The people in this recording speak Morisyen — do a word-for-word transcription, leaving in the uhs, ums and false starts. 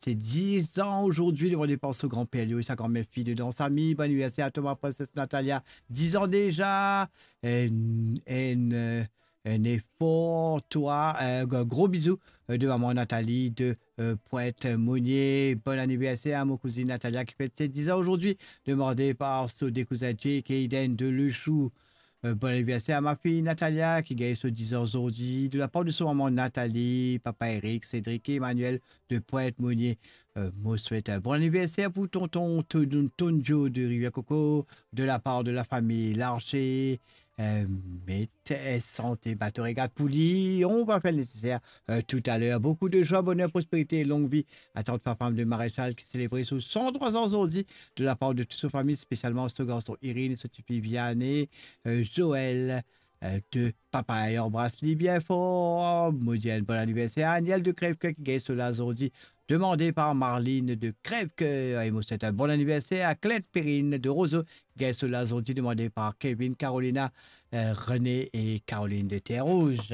ses dix ans aujourd'hui, demandé par son grand-père, lui, sa grand-mère fille de danse amie. Bon anniversaire à toi, ma princesse Natalia, dix ans déjà. Un, un, euh, un effort, toi, un gros bisou euh, de maman Nathalie de euh, Pointe-Monier. Bon anniversaire à mon cousine Natalia qui fête ses dix ans aujourd'hui. Demandé par son deux cousins Jake et Eden de Le Chou. Euh, bon anniversaire à ma fille Natalia qui gagne ses dix ans aujourd'hui. De la part de son maman Nathalie, papa Eric, Cédric et Emmanuel de Pointe-Monier. Euh, mo swet un bon anniversaire pour tonton Ton- Tonjo de Rivière-Coco, de la part de la famille Larcher. Euh, met euh, santé, bateau régate pour lui. On va faire le nécessaire euh, tout à l'heure. Beaucoup de joie, bonheur, prospérité et longue vie à tante Fafam de Maréchal qui célébrait ses cent trois ans aujourd'hui de la part de toute sa famille, spécialement son garçon Irène, son petit-fils Vianney, euh, Joël, euh, de papa et embrasse-lui bien fort. Mo dir un bon anniversaire à Aniel de Crèvecoeur qui gagne cela aujourd'hui. Demandé par Marline de Crèvecoeur. Et mo swet un bon anniversaire à Claire Perrine de Roseau qui gagne cela aujourd'hui. Demandé par Kevin, Carolina, euh, René et Caroline de Terre Rouge.